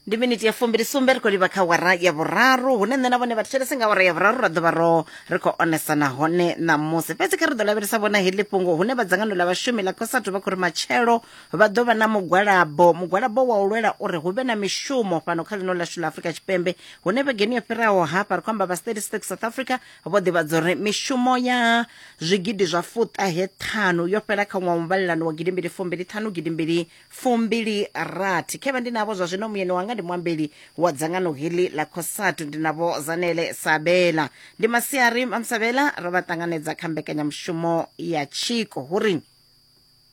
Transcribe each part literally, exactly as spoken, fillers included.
Ndi miniti ya fumbili sumbe ri khou livha kha wara ya vhuraru, hune nṋe na vhone vha thetshelese nga wara ya vhuraru ra ḓo vha ro ri khou onesana hone ṋamusi. Fhedzi kha ri ḓo lavhelesa vhona heḽi fhungo hune vha dzangano ḽa vhashumi ḽa COSATU vha khou ri matshelo vha ḓo vha na mugwalabo, mugwalabo wa u lwela uri hu vhe na mishumo fhano kha ḽino ḽashu ḽa Afrika Tshipembe, hune vhegeni yo fhiraho hafha ri khou amba vha Statistics South Africa vho ḓivhadza uri mishumo ya zwigidi zwa fuṱahe ṱhanu yo fhela kha ṅwaha wa muvhalelano wa gidimbili fumbili ṱhanu gidimbili fumbili rathi. Khevha ndi navho zwa zwino muyeni wanga ndi muambeli wa dzangano heḽi ḽa COSATU, ndi navho Zanele Sabela. Ndi masiari Mamsabela, ro vha ṱanganedza kha mbekanyamushumo ya Tshiko. Huri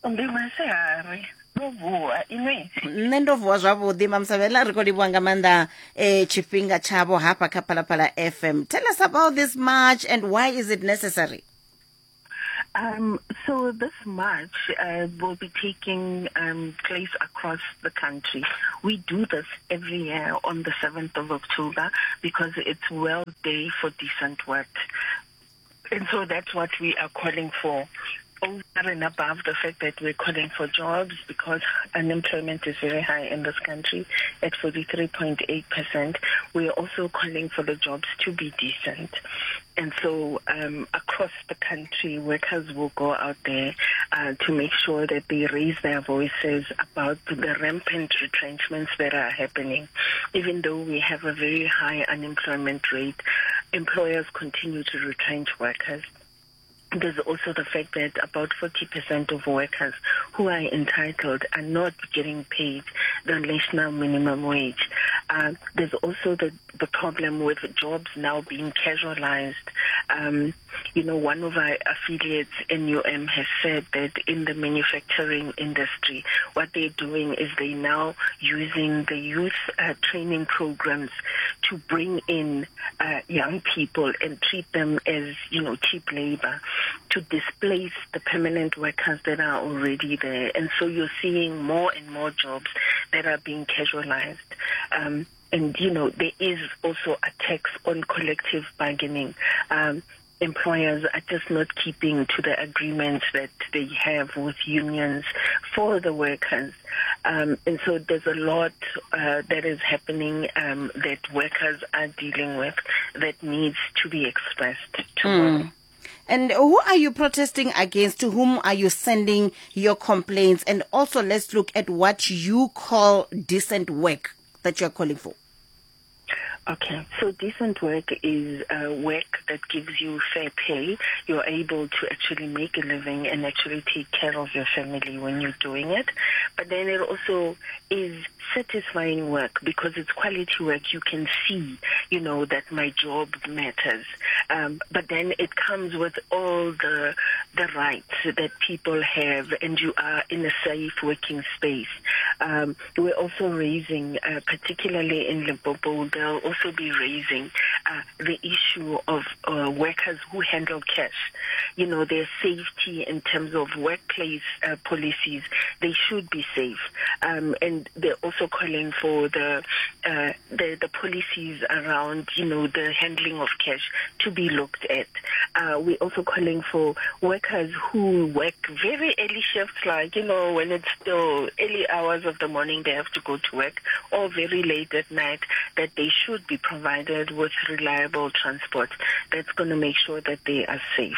ndi masiari, ndo vuwa inwi? Nṋe ndo vuwa zwavhuḓi Mamsabela, ri khou livhuwa nga maanḓa eh, tshifhinga tshavho hafha kha Phalaphala F M. Tell us about this march and why is it necessary? Um, so this march uh, will be taking um, place across the country. We do this every year on the seventh of October because it's World Day for Decent Work. And so that's what we are calling for. Over and above the fact that we're calling for jobs, because unemployment is very high in this country at forty-three point eight percent, we are also calling for the jobs to be decent. And so um, across the country, workers will go out there uh, to make sure that they raise their voices about the rampant retrenchments that are happening. Even though we have a very high unemployment rate, employers continue to retrench workers. There's also the fact that about forty percent of workers who are entitled are not getting paid the national minimum wage. Uh, there's also the, the problem with jobs now being casualized. Um, you know, one of our affiliates, N U M, has said that in the manufacturing industry, what they're doing is they're now using the youth uh, training programs to bring in uh, young people and treat them as, you know, cheap labor, to displace the permanent workers that are already there. And so you're seeing more and more jobs that are being casualized. Um, and, you know, there is also a tax on collective bargaining. Um, employers are just not keeping to the agreements that they have with unions for the workers. Um, and so there's a lot uh, that is happening um, that workers are dealing with that needs to be expressed tomorrow. Mm. And who are you protesting against? To whom are you sending your complaints? And also let's look at what you call decent work that you're calling for. Okay, so decent work is uh, work that gives you fair pay. You're able to actually make a living and actually take care of your family when you're doing it. But then it also is satisfying work because it's quality work. You can see, you know, that my job matters. Um, but then it comes with all the the rights that people have, and you are in a safe working space. Um, we're also raising, uh, particularly in Limpopo, they'll also be raising uh, the issue of uh, workers who handle cash. You know, their safety in terms of workplace uh, policies, they should be safe. Um, and they're also calling for the, uh, the the policies around, you know, the handling of cash to be looked at. Uh, we're also calling for workers who work very early shifts, like, you know, when it's still early hours of the morning, they have to go to work, or very late at night, that they should be provided with reliable transport that's going to make sure that they are safe.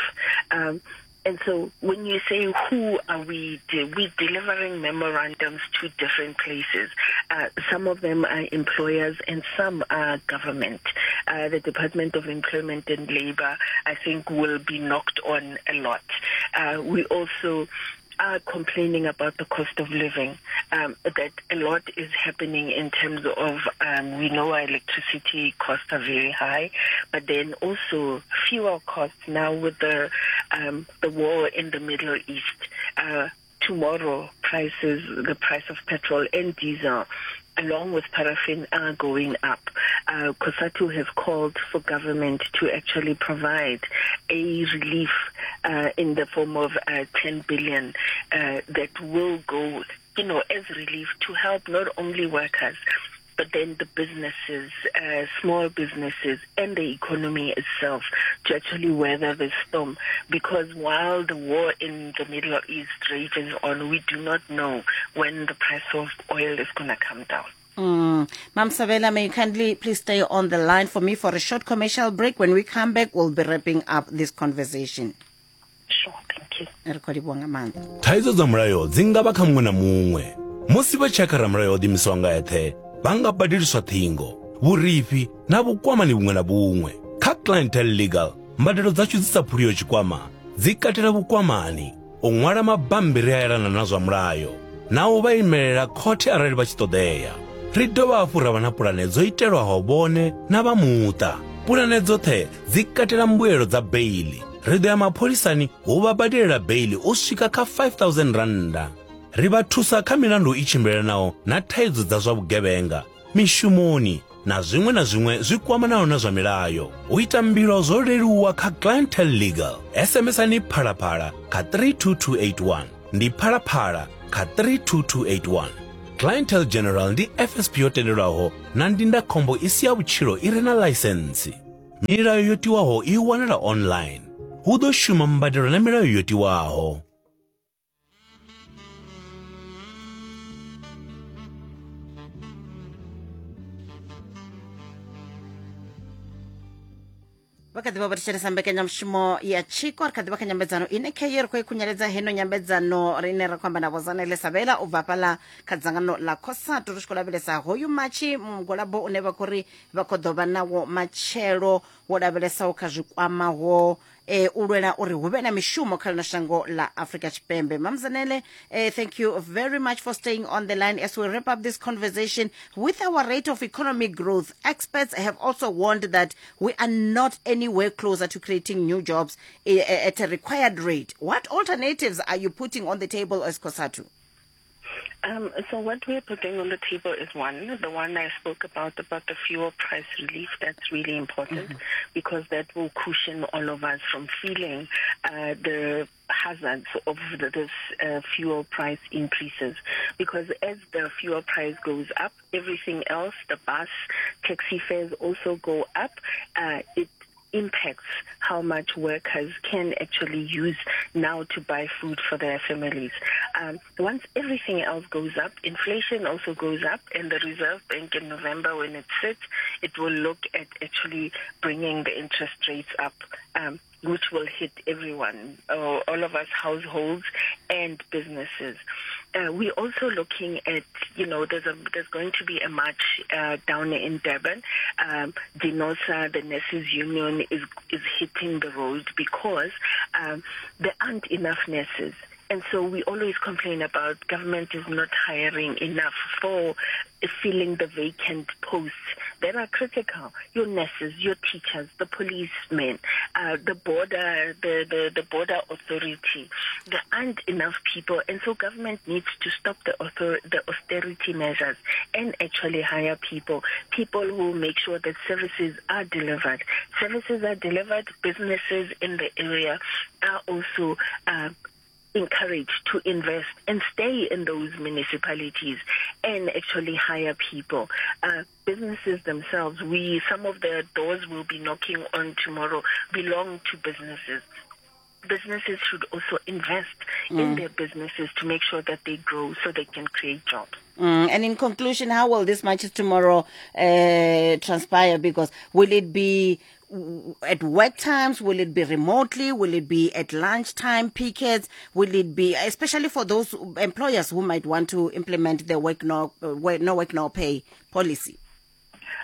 Um, and so when you say who are we, de- we're delivering memorandums to different places. Uh, some of them are employers and some are government. Uh, the Department of Employment and Labor, I think, will be knocked on a lot. Uh, we also are complaining about the cost of living, um, that a lot is happening in terms of, um, we know our electricity costs are very high, but then also fuel costs now with the um, the war in the Middle East. Uh, tomorrow, prices, the price of petrol and diesel, along with paraffin, are going up. Uh, COSATU has called for government to actually provide a relief uh, in the form of uh, ten billion uh, that will go, you know, as relief to help not only workers, but then the businesses, uh, small businesses, and the economy itself to actually weather the storm. Because while the war in the Middle East rages on, we do not know when the price of oil is gonna come down. Mm. Mam Sabela, may you kindly please stay on the line for me for a short commercial break. When we come back, we'll be wrapping up this conversation. Sure, thank you. Ri khou livhuwa nga maanḓa. Thaidzo dza mulayo dzi nga vha kha muṅwe na muṅwe. Musi vha tshi ya kha ramulayo o ḓiimisaho nga eṱhe, vha nga badeliswa ṱhingo, vhurifhi na vhukwamani vhuṅwe na vhuṅwe. Kha Clientele Legal, mbadelo dzashu dzi sa phuliho tshikwama dzi katela vhukwamani, u ṅwala mabambiri a elana na zwa mulayo, na u vha imelela khothe arali vha tshi ṱoḓea. Ri dovha hafhu ra vha na pulane dzo itelwaho vhone na vha muṱa. Pulane dzoṱhe dzi katela mbuelo dza beiḽi. Ri ḓo ya mapholisani hu vha badelela beiḽi u swika kha five thousand rannda. Ri vha thusa kha milandu i tshimbilelanaho na thaidzo dza zwa vhugevhenga, mishumoni na zwiṅwe na zwiṅwe zwi kwamanaho na zwa milayo. U ita mbilo zwo leluwa kha Clientele Legal. S M S-ani Phalaphala kha three two two eight one. Ndi Phalaphala kha three two two eight one. Clientele General ndi F S P yo tendelwaho na ndindakhombo i si ya vhutshilo i re na ḽaisentsi. Milayo yo tiwaho i wanala online. Hu ḓo shuma mbadelo na milayo yo tiwaho. Vha kha ḓi vha vho thetshelesa mbekanyamushumo ya Tshiko. Ri kha ḓi vha kha nyambedzano ine khayo ri khou i khunyeledza heno nyambedzano rine ra khou amba na Vho Zanele Sabela u bva fhaḽa kha dzangano ḽa COSATU, ri tshi khou lavhelesa hoyu matshi mugwalabo une vha khou ri vha khou ḓo vha nawo matshelo, wo lavhelesaho kha zwikwamaho eh, u lwela uri hu vhe na mishumo kha ḽino shango ḽa Afrika Tshipembe. Mam Zanele, eh, thank you very much for staying on the line as we wrap up this conversation. With our rate of economic growth, experts have also warned that we are not anywhere closer to creating new jobs eh, at a required rate. What alternatives are you putting on the table as COSATU? Um, so what we're putting on the table is one, the one I spoke about, about the fuel price relief. That's really important mm-hmm. because that will cushion all of us from feeling uh, the hazards of the, this uh, fuel price increases. Because as the fuel price goes up, everything else, the bus, taxi fares also go up. Uh, it impacts how much workers can actually use now to buy food for their families. Um, once everything else goes up, inflation also goes up, and the Reserve Bank in November, when it sits, it will look at actually bringing the interest rates up, um, which will hit everyone, uh, all of us, households and businesses. Uh, we're also looking at, you know, there's a, there's going to be a march uh, down in Durban. Um, DENOSA, the nurses union, is is hitting the road because um, there aren't enough nurses. And so we always complain about government is not hiring enough for filling the vacant posts that are critical. Your nurses, your teachers, the policemen, uh, the border, the, the, the border authority. There aren't enough people, and so government needs to stop the author, the austerity measures and actually hire people, people who make sure that services are delivered. Services are delivered, businesses in the area are also uh, encouraged to invest and stay in those municipalities and actually hire people. Uh, businesses themselves, we some of the doors we'll be knocking on tomorrow belong to businesses. Businesses should also invest mm. in their businesses to make sure that they grow so they can create jobs. Mm. And in conclusion, how will this march tomorrow uh, transpire? Because will it be at work times? Will it be remotely? Will it be at lunchtime pickets? Will it be, especially for those employers who might want to implement the work no, no work, no pay policy?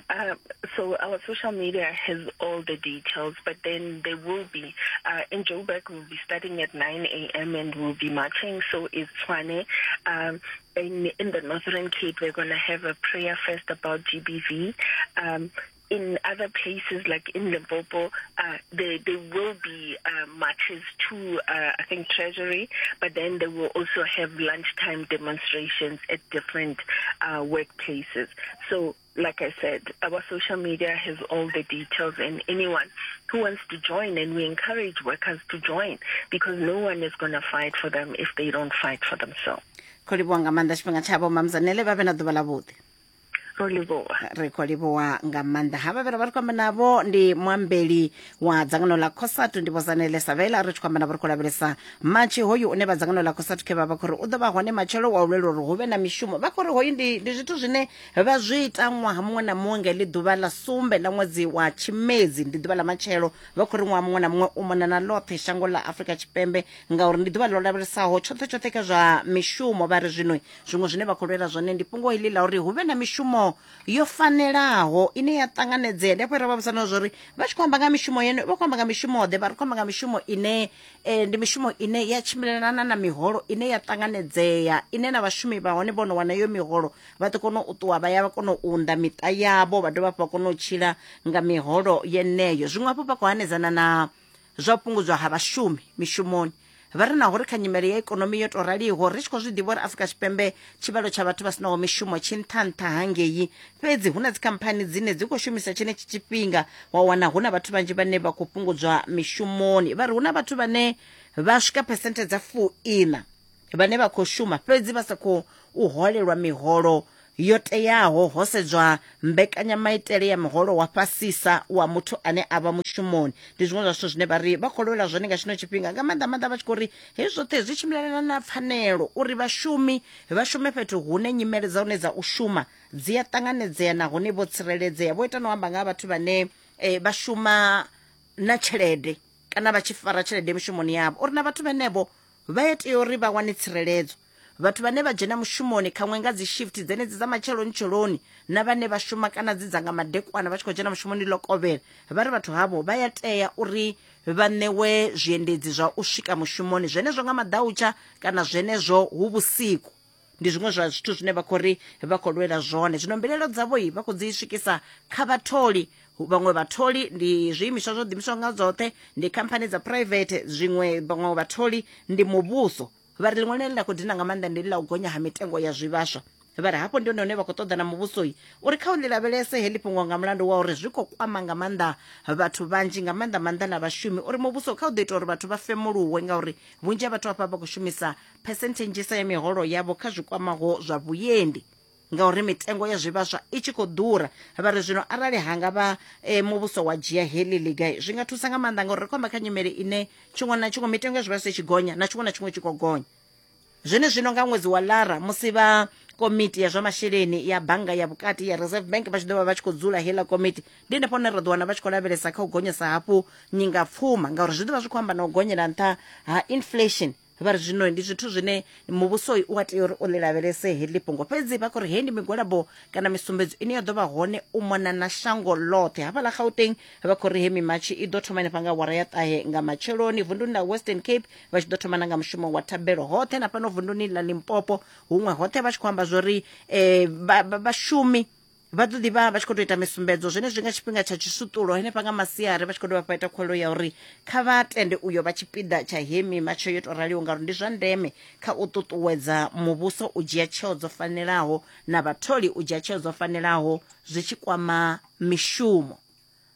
Uh, so our social media has all the details, but then there will be, uh, in Joburg, we'll be starting at nine A M and we'll be marching, so is Tshwane. Um, in, in the Northern Cape, we're gonna have a prayer fest about G B V. Um, in other places like in Limpopo, uh, there, there will be uh, marches to, uh, I think, Treasury, but then they will also have lunchtime demonstrations at different uh, workplaces. So, like I said, our social media has all the details, and anyone who wants to join, and we encourage workers to join, because no one is gonna fight for them if they don't fight for themselves. Khou livhuwa nga maanḓa tshifhinga tshavho, Mam Zanele, vha vhe na ḓuvha ḽavhuḓi. Ro livhuwa. Ri khou livhuwa nga maanḓa. Havha vhera vha ri khou amba navho ndi muambeli wa dzangano ḽa COSATU ndi Vho Zanele Savela. Ri tshi khou amba navho ri khou lavhelesa matshi hoyu une vha dzangano ḽa COSATU khe vha vha khou ri u ḓo vha hone matshelo wa u lwela uri hu vhe na mishumo. Vha khou ri hoyu ndi ndi zwithu zwine vha zwi ita ṅwaha muṅwe na muṅwe nga heḽi ḓuvha ḽa sumbe ḽa ṅwedzi wa Tshimedzi, ndi ḓuvha ḽa matshelo. Vha khou ri ṅwaha muṅwe na muṅwe u mona na ḽoṱhe shango ḽa Afrika Tshipembe ngauri ndi ḓuvha ḽo lavhelesaho tshoṱhe tshoṱhe kha zwa mishumo. Vha ri zwino zwiṅwe zwine vha khou lwela zwone ndi fhungo heḽi ḽa uri hu vhe na mishumo yo fanelaho ine ya ṱanganedzea. Ndi hafho ra vha vhudzana zwori vha tshi khou amba nga mishumo yene vha khou amba nga mishumo ḓe, vha ri khou amba nga mishumo ine eh, ndi mishumo ine ya tshimbilelana na miholo ine ya ṱanganedzea, ine na vhashumi vha hone vho no wana iyo miholo vha ḓo kona u ṱuwa vha ya vha kona u unḓa miṱa yavho, vha dovha hafhu vha kona u tshila nga miholo yeneyo. Zwiṅwe hafhu vha khou hanedzana na zwa fhungudzwa ha vhashumi mishumoni. Vha ri naho ri kha nyimele ya ikonomi yo to raliho ri tshi khou zwi ḓivha uri Afrika Tshipembe tshivhalo tsha vhathu vha sinaho mishumo tshi nṱha nṱha hangei, fhedzi hu na dzikhamphani dzine dzi khou shumisa tshenetshi tshifhinga wa wana hu na vhathu vhanzhi vhane vha khou fhungudzwa mishumoni. Vha ri hu na vhathu vhane vha swika phesenthe dza fuiṋa vhane vha khou shuma fhedzi vha sa khou u holelwa miholo yo teaho ho sedzwa mbekanyamaitele ya muholo wa fhasisa wa muthu ane a vha mushumoni. Ndi zwiṅwe zwa zwithu zwine vha ri vha khou lwela zwone nga tshino tshifhinga, nga maanḓa maanḓa vha tshi khou ri hezwi zwoṱhe zwi tshimbilelana na pfanelo uri vhashumi vha shume fhethu hune nyimele dza hone dza u shuma dzi a ṱanganedzea nahone vho tsireledzea. Vho ita no amba nga ha vhathu vhane eh, vha shuma na tshelede kana vha tshi fara tshelede mishumoni yavho, uri na vhathu vhenevho vha tea uri vha wane tsireledzo. Vhathu vhane vha dzhena mushumoni khaṅwe nga dzi shift dzenedzi dza matsheloni tsheloni na vhane vha shuma kana dzi dza nga madekwana vha tshi khou dzhena mushumoni ḽo kovhela, vha ri vhathu havho vha ya tea uri vha ṋewe zwiendedzi zwa u swika mushumoni zwenezwo nga maḓautsha kana zwenezwo hu vhusiku. Ndi zwiṅwe zwa zwithu zwine vha khou ri vha khou lwela zwone. Zwino mbilaelo dzavho vha khou dzi swikisa kha vhatholi. Vhaṅwe vhatholi ndi zwiimiswa zwo ḓiimisaho nga dzoṱhe, ndi khamphani dza private, zwiṅwe vhaṅwe vhatholi ndi muvhuso. Vha ri ḽiṅwe ḽine ḽa khou dina nga maanḓa ndi ḽa u gonya ha mitengo ya zwivhaswa. Vha ri hafho ndi hone hune vha khou ṱoḓa na muvhusoi uri kha u ḽi lavhelese heḽi fhungo nga mulandu wa uri zwi khou kwama nga maanḓa vhathu vhanzhi, nga maanḓa maanḓa na vhashumi, uri muvhuso kha u ḓo ita uri vhathu vha femuluwe ngauri vhunzhi ha vhathu hafha vha khou shumisa phesenthe nnzhisa ya miholo yavho kha zwi kwamaho zwa vhuendi ngauri mitengo ya zwivhaswa i tshi khou ḓura. Vha ri zwino arali hanga vha e, muvhuso wa dzhia heḽi ḽiga zwi nga thusa nga maanḓa ngauri ri khou amba kha nyimele ine tshiṅwe na tshiṅwe mitengo ya zwivhaswa i tshi gonya na tshiṅwe na tshiṅwe tshi khou gonya. Zwene zwino nga ṅwedzi wa Lara musi vha komiti ya zwa masheleni ya bannga ya vhukati ya Reserve Bank vha tshi ḓo vha vha tshi khou dzula heiḽa komiti, ndi henefho hune ra ḓo wana vha tshi khou lavhelesa kha u gonyesa hafhu nyingapfuma ngauri zwi ḓo vha zwi khou amba na u gonyela nṱha ha inflation. Vha ri zwino ndi zwithu zwine muvhuso u a tea uri u ḽi lavhelese heḽi fhungo. Fhedzi vha khou ri heyi ndi migwalabo kana misumbedzo ine ya ḓo vha hone u mona na shango ḽoṱhe. Hafhaḽa Gauteng vha khou ri he mimatshi i ḓo thoma henefha nga awara ya ṱahe nga matsheloni, vunduni ḽa Western Cape vha tshi ḓo thoma na nga mushumo wa thabelo hoṱhe, na fhano vunduni ḽa Limpopo huṅwe hoṱhe vha tshi khou amba zwori eh, vhashumi vha ḓo ḓi vha vha tshi khou tou ita misumbedzo zwenezwi nga tshifhinga tsha tshisutulo henefha nga masiari, vha tshi khou dovha vha ita khuwelelo ya uri kha vha tende uyo vha tshipiḓa tsha he mimatsho yo tou raliho ngauri ndi zwa ndeme kha u ṱuṱuwedza muvhuso u dzhia tsheo dzo fanelaho na vhatholi u dzhia tsheo dzo fanelaho zwi tshi kwama mishumo.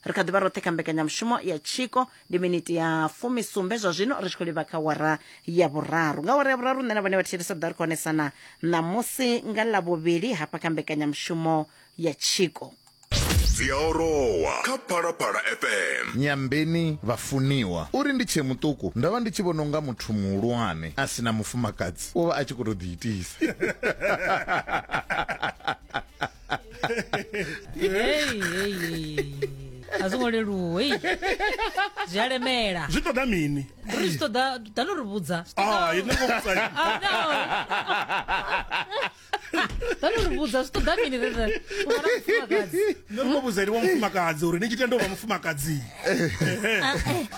Ri kha ḓi vha roṱhe kha mbekanyamushumo ya Tshiko, ndi miniti ya fumisumbe zwa zwino ri tshi khou livha kha wara ya vhuraru. Nga wara ya vhuraru nṋe na vhone vha thetshelesa ḓa ri khou onesana ṋamusi nga Ḽavhuvhili hafha kha mbekanyamushumo ya Tshiko. Dzi a orowa kha Phalaphala F M. Nyambeni vhafuniwa uri ndi tshe muṱuku nda vha ndi tshi vhona unga muthu muhulwane a sina mufumakadzi u vha a tshi khou tou ḓiitisa. Hey, hey, hey. A zwo ngo leluwa, hey. Zwi a lemela. Zwi ṱoḓa mini? Ri zwi ṱoḓa, ḓano ri vhudza. Ah, ine ngo vhudza. Ah, no. Ḓano ri vhudza zwi ṱoḓa mini ri ri u vha na mufumakadzi. Nṋe ri khou vhudza uri wa mufumakadzi uri ni tshi tenda u vha mufumakadzi.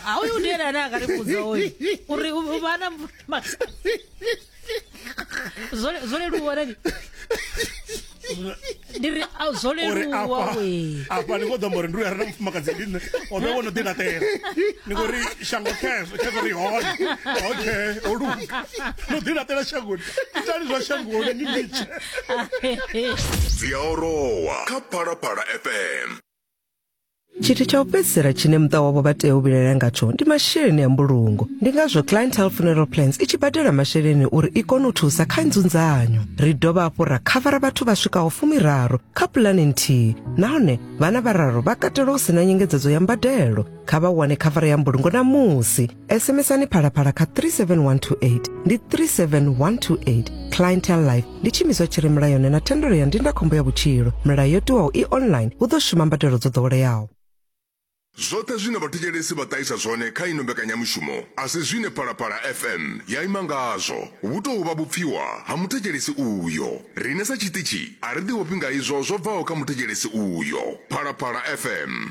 A uyu ndi ene ane a nga ri vhudza hoyu uri u vha na mufumakadzi. Zwo zwo leluwa nani? Ndi ri zwo leluwa we. Afha ni khou ḓo amba uri ndi uyu a re na mufumakadzi ndi nṋe, o vhe wo no ḓi laṱela. Ni khou ri shango khezwo, khezwo ri hone. Okay, o luga. No ḓi laṱela shangoni. Itani zwa shangoni ni litshe. Dzi a orowa kha Phalaphala F M. Tshithu tsha u fhedzisela tshine muṱa wavho vha tea u vhilaela ngatsho ndi masheleni a mbulungo. Ndi ngazwo Clientele Funeral Plans i tshi badela masheleni uri i kone u thusa kha nzunzanyo. Ri dovha hafhu ra khavara vhathu vha swikaho fumiraru kha pulane nthihi, nahone vhana vhararu vha katelwa hu sina nyengedzedzo ya mbadelo. Kha vha wane khavara ya mbulungo namusi. SMSani Phalaphala kha three seven one two eight, ndi three seven one two eight. Clientele Life ndi tshiimiswa tshi re mulayoni na thendelo ya ndindakhombo ya vhutshilo. Milayo yo tiwaho i online, hu ḓo shuma mbadelo dzo ḓoweleaho. Zwoṱhe zwine vhathetshelesi vha ṱahisa zwone kha ino mbekanyamushumo a si zwine Phalaphala F M ya ima ngazwo. Vhu tou vha vhupfiwa ha muthetshelesi uyo. Riṋe sa tshiṱitshi a ri ḓivhofhi nga izwo zwo bvaho kha muthetshelesi uyo. Phalaphala F M.